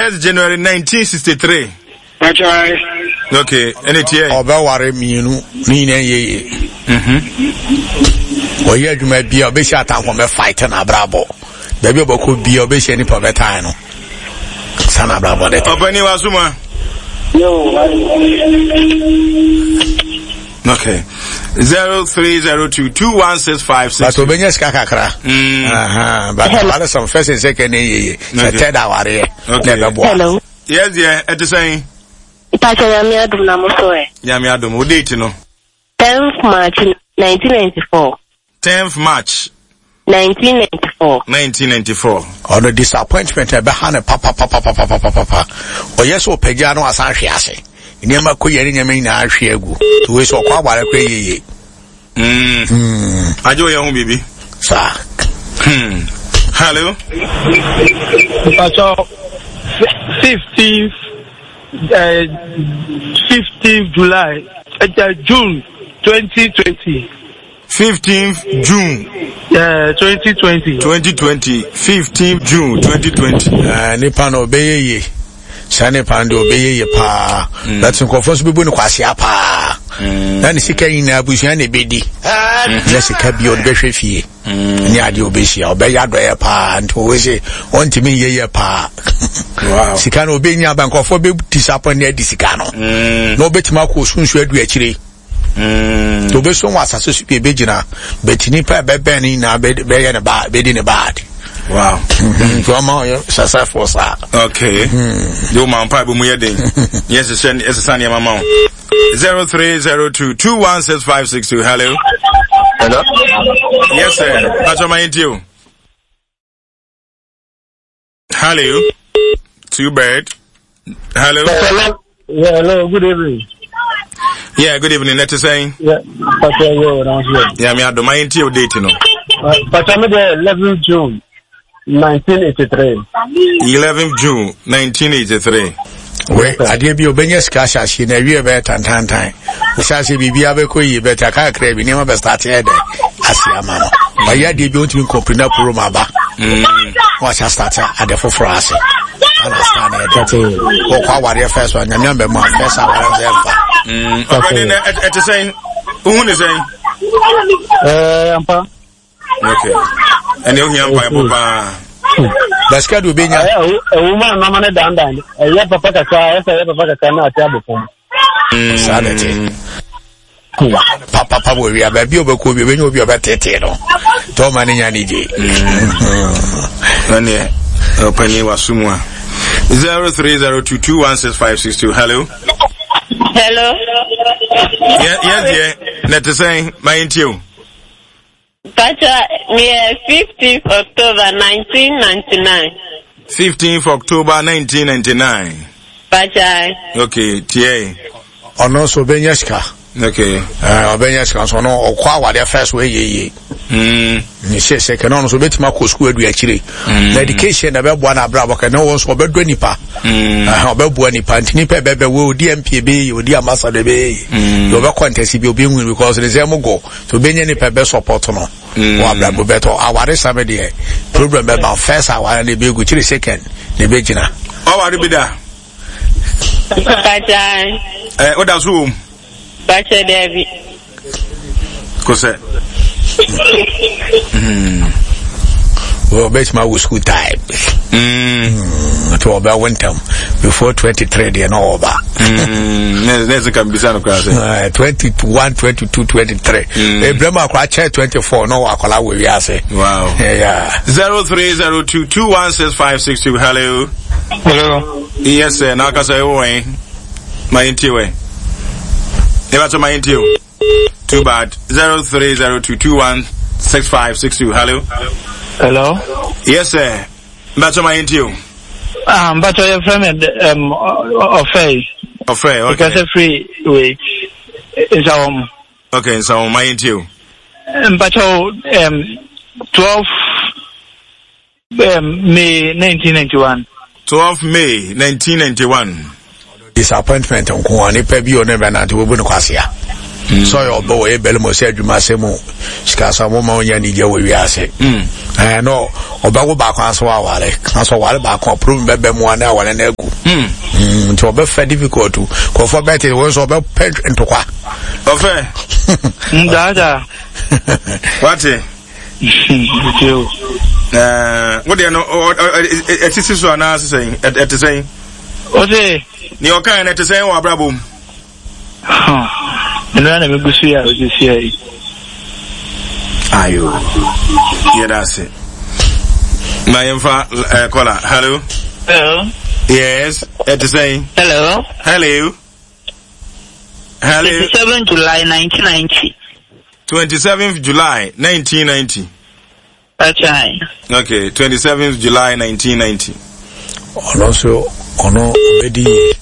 1st January 1963. Pakyɛ. Okay, ɛne tiɛ. Ɔbɛware mmienu ne nyinaa yɛ yie. Mhm. Ɔyɛ adwuma bia ɔbɛhyia atamfo ɔbɛ fight na abrabɔ. Baabi ɔbɛkɔ bia ɔbɛhyia nipa ɔbɛtan no. Saa na abrabɔ de. Ɔpɛni wa suma. Okay. 0302 2165 But obenya sika kakra. Mm. Uh-huh. But uh-huh. some first and second ye ye. Okay. Third awareɛ. Okay. Hello. Yes dear, ɛte sɛn? Mpakyɛ Nyame adom na mo so ɛ? Nyame adom, wo date no? 10th March 1994. 10th March. 1994. 1994. Ɔno disappointment ɛbɛha no papapapapapapa. Ɔyɛ sɛ ɔpagya no asan hwe ase. Nneɛma kɔ yɛ ne nneɛma nyinaa hwe agu. Wei sɛ ɔkɔ aware kɔ yɛ yie. Mm. Mm. Agye oyɛ ho biribi. Saa. Hmm. Hello. Mpatsɔ 15th 15th July uh, June 2020. 15th June. Yeah, 2020. 2020. 15th June 2020. Uh, nipa no obeye ye. Saa nipa no de obeye ye paa. Mm. But nkurɔfoɔ nso bɛbu no kwasea paa. Mm. Na ne sika nyinaa abusua na ebedi. Mm. Na sika bi ɔde bɛhwɛ fie. Mm. Ne adeɛ ɔbɛhyia ɔbɛyɛ adɔyɛ paa nti ɔwɔ sɛ ɔntumi nyɛ yɛ paa. Wow. Sika no ɔbɛnya aba nkurɔfoɔ bɛ disappoint ne adi sika no. Mm. Na ɔbɛtumi akɔ sunsun adu akyire. Mm. Nti obeso wɔ asase so bi ebegyina but nipa ɛbɛbɛn ne nyinaa bɛyɛ ne bad bɛdi ne bad. Wow. Mm-hmm. Nti ɔma ɔyɛ successful saa. Okay. Mm. Yo ma mpa ebo mu yɛ den. Yɛ hyehyɛ ɛsesa nneɛma ma wo. 0302 216562. Hello. Hello. Yes sir. Pacho ma yɛntie o. Hello. Two bird. Hello. Hello. Yeah, hello. Good evening. Yeah, good evening. Let us say. Yeah, Pastor, yeah, around here. Yeah, me ado my interior date, you know. Pastor, me the 11th June, 1983. 11th June, 1983. We adeɛ bi obɛnya sika ahyɛ aseɛ na awie bɛyɛ tantantan wohyɛ aseɛ biribiara bɛkɔ yie bɛtɛ akakra bi nneɛma bɛstate yɛ dɛ ase ama no ɔyɛ adeɛ bi ɔntumi nkɔmpiri na poro ma aba na wahyɛ astate ade foforɔ ase ana saa na ɛdɛ wɔkɔ awareɛ fɛ so a nyame ambɛ mu a fɛ sɛ awareɛ sɛ ɛmfa ɔbɛne na ɛte sɛn wohu ne sɛn ampa okay ɛne ohia mpaebɔ paa basika de obɛnya ɛwo ma nɔma no dandan ɛyɛ papa kakra ɛsɛ ɛyɛ papa kakra na ate abɔ fam saa na ɛte papapa wɔ wia baabi a ɔbɛkɔ bi ɔbɛnya obi a ɔbɛtetee no tɛ ɔma no nya ne gye ɛneɛ ɔpani waso mu a 0302216562 hello hello yes deɛ na ɛte sɛn ma yɛntie o Pacha, meyɛ 15th October 1999. 15th October 1999. Pacha. Okay, tiɛ. Ɔno nso ɔbɛnya sika. Okay. Ɔbɛnya sika nso ɔno ɔkɔ awadeɛ first wɔ ɛyɛ yie. Ne sɛ sɛ kɛnɛ ɔno nso ɔbɛtumi akɔ sukuu adu akyire. Na education na ɛbɛboa no abrabɔ kɛnɛ wɔn nso ɔbɛdɔ nipa. Ɔbɛboa nipa nti nipa ɛbɛbɛ wɔ odi MP ɛbɛyɛ yie odi ambassador ɛbɛyɛ yie. Ɔbɛkɔ ntɛsi bi obi nhu because ne nsɛm gɔ. So obenya nipa bɛ support no. Mm. Wɔ abrabɔ bɛtɔ aware same deɛ problem bɛba first aware na ebe gu kyerɛ second na ebe gyina. Ɔware bi da. Bàjẹ́. Ɛ o da so wɔ mu. Bàjẹ́ dẹ́bi. Kosɛ. Wɔbɛtumi awo school time. Nti wɔbɛwo ntɛm before 23 deɛ na ɔba. Ne sɛ ka mbisa no koraa sɛ. 21 22 23. Ebirɛ mu akora kyɛ 24 na ɔwɔ akɔla wɔ wiase. Wow. Yeah. 0302 216562 hello. Hello. Yes sir. Na akasa ɛwɔ wɛn. Ma yɛn tie wɛn. Eba ma yɛn tie o. Too bad. 0302216562. Hello. Hello. Yes, sir. Mbacho ma yɛntie o. Ah, mbacho yɛ fɛ mi ɔfɛ. Ɔfɛ, okay. Ìkẹsẹ̀ firi wei nsawam. Okay, nsawam ma yɛntie o. Mbacho 12 May 1991. 12 May 1991. Disappointment nko a nipa bi ɔne bɛ nante wɔbu no kwasea. Sɛ ɔyɛ ɔbɛ wɔyɛ bɛlɛmɔ sɛ adwuma sɛ mu sikasɛm mo ma ɔnya anigye wɔ wiase. Ɛɛ no ɔbɛwo baako aso aware aso ɔware baako a problem bɛbɛ mu ana aware no agu. Nti ɔbɛfɛ difficult nkurɔfoɔ bɛte wɔn nso ɔbɛpɛ ntokwa. Ɔfɛ. Ndaadaa. Wate. Wo deɛ no ɛsisi so anaa sesɛn ɛte sɛn? Ɔse. Nea ɔkae no ɛte sɛn wɔ abrabɔ mu? Ɛno na megu so yɛ a ɔsisi ayi. Ayo. Yɛda ase. Ma yɛmfa kɔla. Hello. Hello. Yes. Ɛte sɛn? Hello. Hello. Hello. 27 July 1990. 27th July 1990. That's right. Okay, 27th July 1990. Ɔno nso ɔno ɔbɛdi yie.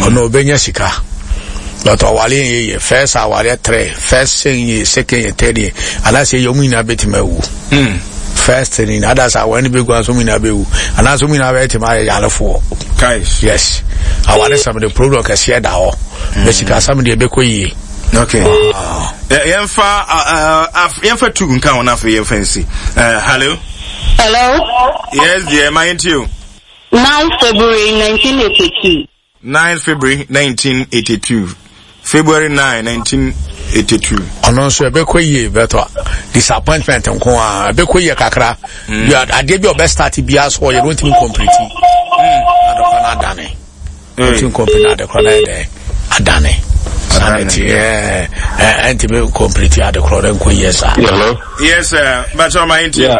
Ɔno ɔbɛnya sika. But ɔware yɛ yie first awareɛ three first second year second year third year anaasɛ yɛ ɔmo nyinaa bɛtumi awu. First ni anaasɛ aware no bɛgu anaasɛ ɔmo nyinaa bɛwu anaasɛ ɔmo nyinaa bɛtumi ayɛ yarefoɔ. Yes aware sɛm de problem kɛseɛ da hɔ. Bɛ sika asɛm deɛ ɛbɛkɔ yie. Okay. Yɛmfa yɛmfa tu nka ho na afei yɛmfa nsi. Hello. Hello. Yes dear, ma yɛntie o. 9 February 1982. 9 February 1982. February 9, 1982. Ɔno nso ɛbɛkɔ yie bɛtɔ disappointment nko a ɛbɛkɔ yie kakra. Adeɛ bi a ɔbɛ start biara so ɔyɛ no ntumi complete. Adɔkɔ no adane. Ntumi complete adɔkɔ no ayɛ dɛ adane. Adane ti ɛɛ ɛntumi complete adɔkɔ no nkɔ yie saa. Hello. Yes sir, bàtchɛ ɔma yɛn ti. Yeah,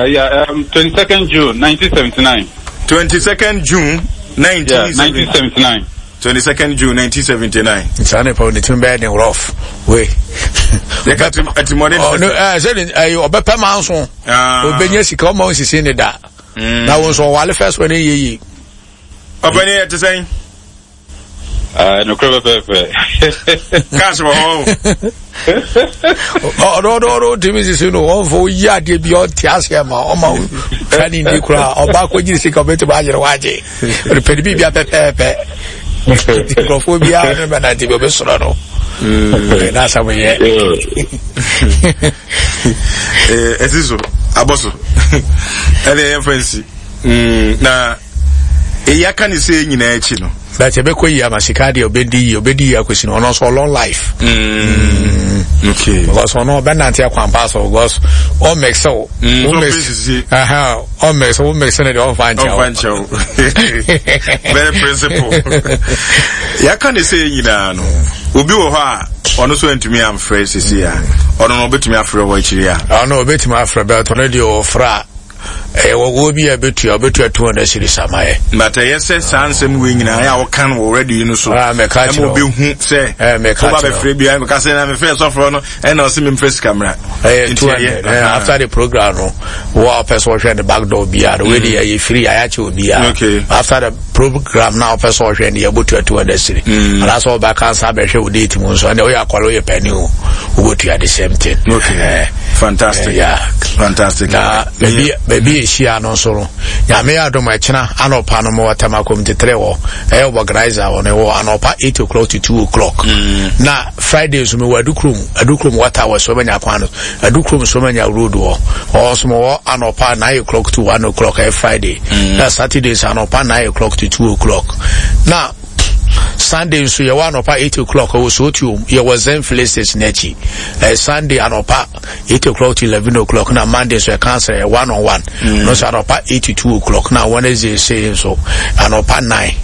yeah, 22nd June 1979. 22nd June 1979. 22nd June 1979. Saa nipa ne tumi bɛyɛ den rough wei. Yɛka atimɔden. Ɔno ɛɛ sɛ ɛyɛ ɔbɛpɛ maa nso. Ɔbɛnya sika ɔma onsisi ne da. Na wɔn nso ɔwale first one yɛ yie. Ɔpɛni yɛ te sɛn. Nokorɛ pɛpɛɛpɛ. Cash wɔ hɔ. Ɔno ɔno ɔno ntumi sisi no ɔnfɔ oyi adeɛ bi ɔnte aseɛ ma ɔma twa ne ndi koraa ɔba akɔgyiri sika ɔbɛtumi ayere wagye ɔpɛ ne biribia pɛpɛɛpɛ nkurɔfoɔ biara ne bɛnante bi ɔbɛsoro no na asɛm yɛ ɛsi so abɔ so ɛne ɛyɛ mfa nsi na eyi aka ne sɛ nyinaa akyi no but ɛbɛkɔ yie ama sika deɛ ɔbɛdi yie ɔbɛdi yie akɔsi no ɔno nso long life. Okay. Because ɔno ɔbɛnante akwampa so because ɔmmɛksɛ wo. Ɔmmɛksɛ wo mmɛksɛ no deɛ ɔmfa nkyɛw. Ɔmfa nkyɛw. Very principle. Yɛaka ne sɛ nyinaa no obi wɔ hɔ a ɔno nso antumi amfrɛ sisi a ɔno no ɔbɛtumi afrɛ wɔ akyiri a. Ɔno ɔbɛtumi afrɛ bɛtɔ no deɛ ɔfrɛ a ɛyɛ wɔwɔ bi a ɛbɛtua ɔbɛtua 200 series ama yɛ. But ɛyɛ sɛ saa nsɛm wei nyinaa yɛ a wɔka no wɔ radio yi no so. Ah, mɛka kyerɛ ɛma obi hu sɛ woba bɛfrɛ bi a mɛka sɛ na mefrɛ sɔfoɔ no ɛna ɔse memfrɛ sika mmra. Ɛyɛ 200 after the program no wo a wopɛ sɛ wɔhwɛ ne back door biara no wei de ɛyɛ free ayɛakyɛ obiara. Okay. After the program na wopɛ sɛ ɔhwɛ no yɛbɛtua 200 series. Anaasɛ wɔbɛka nsa bɛhwɛ wo date mu nso ɛnɛ woyɛ akwale woyɛ pani o wobɛtua the same thing. Okay. Fantastic. Yeah. Fantastic. Na baabi baabi ehyia no nso no nyame yɛ adom ɛkyena anɔpa no mewɔ Tema community 3 wɔ ɛyɛ organizer wɔ no wɔ anɔpa 8 o'clock to 2 o'clock. Na Friday nso mewɔ Adukurom Adukurom water wɔ Somanya kwan no Adukurom Somanya road wɔ ɔwɔ nso mewɔ anɔpa 9 o'clock to 1 o'clock ɛyɛ Friday. Na Saturday nso anɔpa 9 o'clock to 2 o'clock. Na Sunday nso yɛwɔ anɔpa 8 o'clock ɛwɔ Sotuom yɛwɔ Zen filling station akyi. Ɛyɛ Sunday anɔpa 8 o'clock to 11 o'clock na Monday nso ɛka sɛ one on one. No nso anɔpa 8 to 2 o'clock na Wednesday sei nso anɔpa 9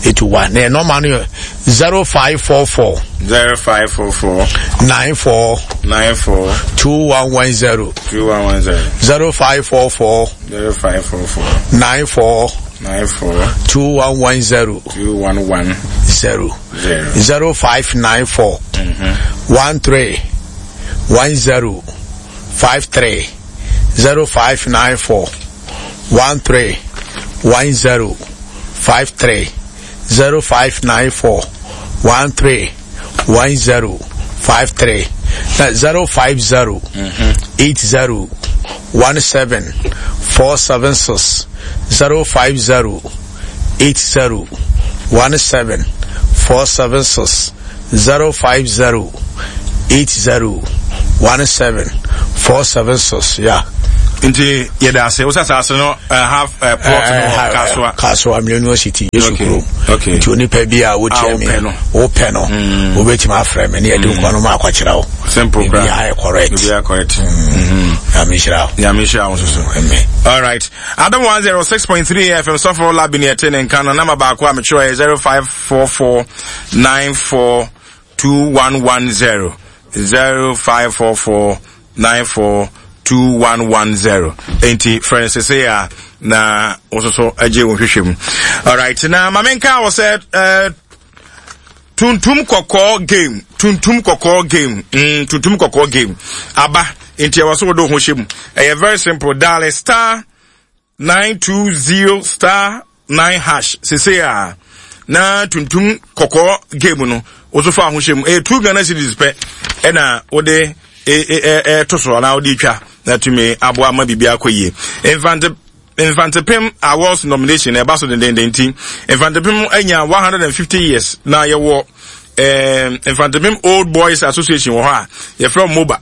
8 to 1. Na nɔɔma no yɛ 0544 0544 94 94 2110 2110 0544 0544 94 94 2110 211 0 0594 13 10 53 0594 13 10 53 0594 13 10 53 050 80 17 476 050 80 17 476 050. 80 17 476 yeah. Nti yɛda ase wo sɛ asase no uh, half uh, plot no wɔ eh, Kasoa. Kasoa Millennium City Yesu kurom. Okay. Nti onipa bi a wotia mi wopɛ no mm. wobɛtumi afrɛ me ne yɛde mm. nkwa no ma akɔkyerɛ wo. Simple kora. Biribiara yɛ correct. Biribiara correct. Mm. Nyame nhyira wo. Nyame nhyira wo nso so. Amen. All right. Adom 106.3 FM sɔfo labi ne ɛte ne nka no nama baako a metwerɛ yɛ 0544 94 2110 0544 94 2110 enti frɛ no sese a na wo nso so agye wo nhwehwɛ mu. Alright, na ma menka wɔ sɛ uh, tuntum kɔkɔɔ game tuntum kɔkɔɔ game mm, tuntum kɔkɔɔ game aba nti ɛwɔ so wode wo ho hyɛ mu. Ɛyɛ very simple, dial star 920 star 9 hash sese a na tuntum kɔkɔɔ game no woso fa ho hyɛ mu. Ɛyɛ 2 Ghana cedis pɛ ɛna wode ɛto so anaa wode twa na tumi aboa ma biribi akɔ yie. Mfante Mfantepem Awards nomination ɛba so dendenden nti Mfantepem anya 150 years na yɛwɔ eh, Mfantepem Old Boys Association wɔ hɔ a yɛfrɛ MOBA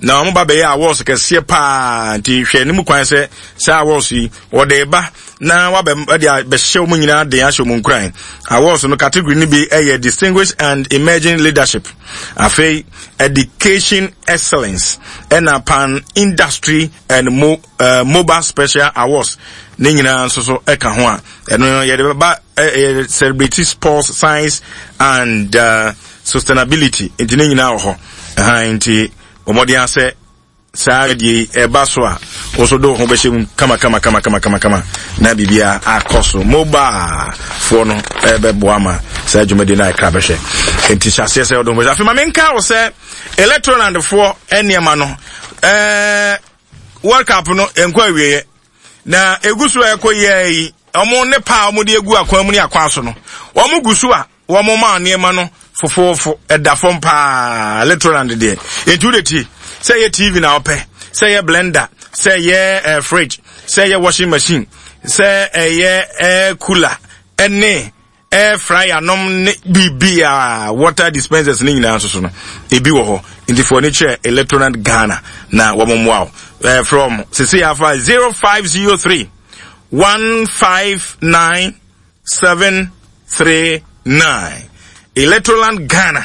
na wɔn ba bɛyɛ awards kɛseɛ paa nti hwɛ ne mu kwan sɛ saa awards yi wɔde ba na wabɛ de abɛhyɛ wɔn nyinaa den ahyɛ wɔn nkuran. Awards no category no bi yɛ distinguished and emerging leadership, afei education excellence, ɛna pan industry and mo uh, mobile special awards ne nyinaa nso so ɛka ho a ɛno yɛde bɛba ɛyɛ celebrate sports science and uh, sustainability nti ne nyinaa wɔ hɔ ɛhan nti wɔn asɛ saa deɛ yi ɛba so a wɔso de wo ho bɛhyɛ mu kama kama kama kama kama kama na biribiara akɔ so. Mobile foɔ no ɛbɛboa ma saa dwumadie no ayɛ bɛhwɛ nti hyɛ aseɛ sɛ wɔde ho bɛhyɛ. Afei ma menka wo sɛ electroland foɔ nneɛma no ɛɛ World Cup no nkɔ awieɛ na egu so a ɛkɔ yie yi wɔn ne pa a wɔde egu akwan mu ne akwan so no wɔn gu so a Wɔn maa nneɛma no fofoofo, ɛda fam paa, Litroland deɛ. Enti wode tie, sɛ ɛyɛ TV na wopɛ, sɛ ɛyɛ blender, sɛ ɛyɛ eh, fridge, sɛ ɛyɛ washing machine, sɛ ɛyɛ air cooler, ɛne air fryer nom ne biribiara, water dispensers ne nyinaa nso so no, ebi wɔ hɔ. Nti fo ani kyerɛ Electroland Ghana na wɔn mmoa wo. Eh, frɛ wɔn sisi afa 0503 159 739 Electroland Ghana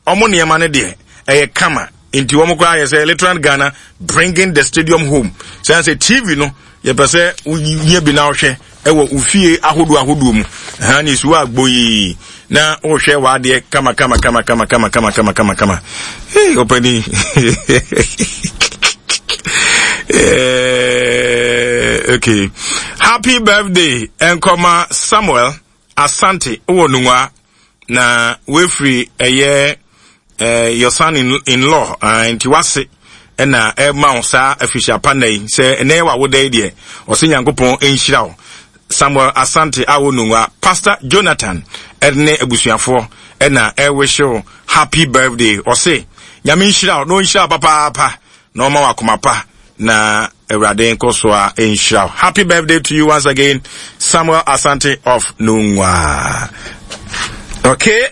ɔmo nneɛma no deɛ ɛyɛ kama nti wɔn koraa yɛ sɛ Electroland Ghana bringing the stadium home sɛ sɛ TV no yɛpɛ sɛ wonya bi na wohwɛ ɛwɔ ofie ahodoɔ ahodoɔ mu ha ne esuwa agbo yi na wohwɛ w'adeɛ kama kama kama kama kama kama kama kama kama hey ɔpɛni eh, okay happy birthday nkɔma Samuel Asante wɔ Nungua na wefiri ɛyɛ eh, your son in, in law uh, nti wase ɛna ɛma wo saa afirihyia pa nna yi sɛ ɛnɛ yɛ w'awoda yi deɛ ɔsɛ Nyankopɔn nhyira wo Samuel Asante a wɔ Nungua, Pastor Jonathan ne abusuafoɔ na ɛrewish wo happy birthday. Ɔse Nyame nhyira wo na ɔnhyira wo papaapa na ɔma wo akoma pa na Awurade nkɔ so a nhyira wo. Happy birthday to you once again, Samuel Asante of Nungua. Okay,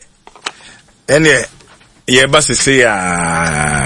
ɛneɛ yɛba sese a.